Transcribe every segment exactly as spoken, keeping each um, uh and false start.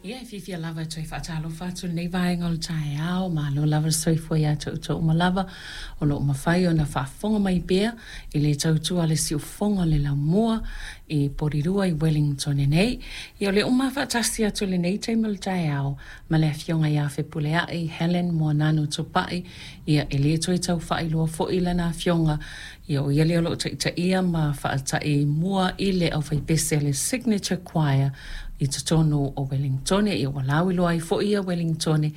Ia, e fiafia lava e toe faatalofa atu i lenei vaega o le taeao. Malo lava le soifua ia te outou uma lava o lo o mafai ona faafofoga mai pea i le tautua a le siufofoga o le laumua i Porirua i Wellington nei. Ia, o lea ua faatasi atu i lenei taimi o le taeao ma le afioga ia Fepuleai Helen Moananu Tupai. Ia, e le toe tau faailoa foi lana afioga. Ia, o ia lea o lo o taitaia ma faatai mua i le aufaipese a le Signature Choir i totonu o Wellington. Ia, ua lauiloa ai foi ia Wellington,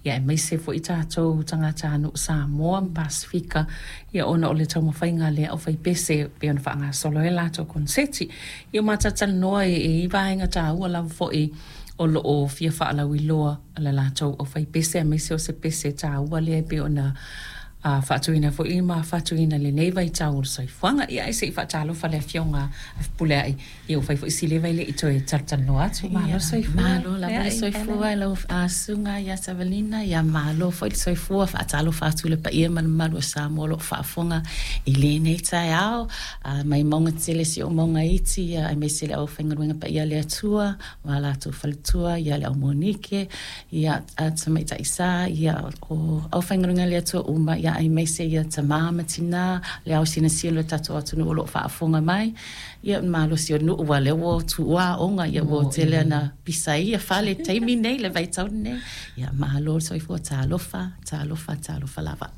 ia aemaise foi tatou tagatanuu Samoa ma Pasefika, ia ona o le taumafaiga a le aufaipese pei ona faagasolo ai latou koneseti. Ia, ma talatalanoa e i vaega taua lava foi o lo o fia faalauiloa le latou aufaipese, aemaise o se pese taua lea e pei ona a faatuina foi ma faatuina lenei vaitau o le soifuaga. Ia, ae se i faatalofa le afioga a Fepuleai. Ia, ua fai foi si leva i le i toe talatalanoa atu. Malo soifua. Malo lava le soifua i lau susuga ia Savalina. Ia, malo foi le soifua. Faatalofa atu le paia ma le mamalu o Samoa o lo o faafofoga i lenei taeao, mai mauga tele seia oo mauga iti, ia aemaise le aufaigaluega paia a le Atua ma latou faletua, ia le au Monike, ia Tamaitai Sa, ia o aufaigaluega a le Atua uma, ia aemaise ia tamā ma tinā, le ao sinasina o le tatou atunuu o lo o faafofoga mai. Ia, malosi o nuu ua lea ua tuua aoga, ia ua tele ana pisa ia fale taimi nei le vaitau nei. Ia, malo le soifua. Talofa, talofa, talofa lava.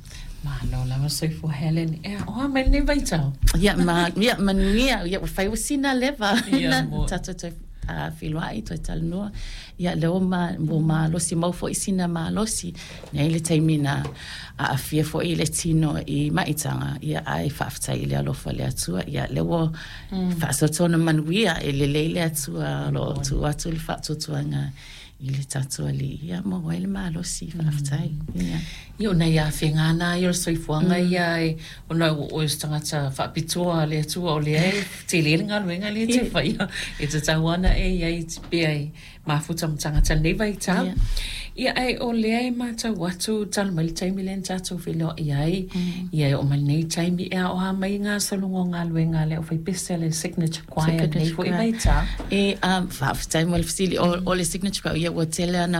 Malo lava soifua, Helen. Ea, o a mai lenei vaitau? Ia, ma ia manuia. Ia, ua fai ua sina leva Ia, mo. Tatou toe uh, feiloai, toe talanoa. Ia, lea ua ma, ua malosi mau foi sina malosi nei le taimi na aafia foi le tino i maitaga. Ia, ai faafetai i le alofa o le Atua. Ia, lea ua mm. faasoatona manuia e lelei le Atua o lo o tuu atu le faatuatuaga i le tatou Alii. Ia, maua ai le malosi, faafetai. Ia. Ia, o nai afega na ia o le soifuaga ia e ona ua oe o se tagata faapitoa a le Atua o lea e tele le galuega lea e te faia e tatau ana e iai pea e mafuta ma tagata lenei vaitau. Ia. Ia, ae o lea e matau atu talu mai le taimi lea na tatou feiloai ai, ia e oo mai lenei taimi, e ao a mai gasologa o galuega a le aufaipese a le Signature Choir lenei foi vaitau? E um, faafetai mo le fesili. O, o le Signature Choir, ia, ua tele ana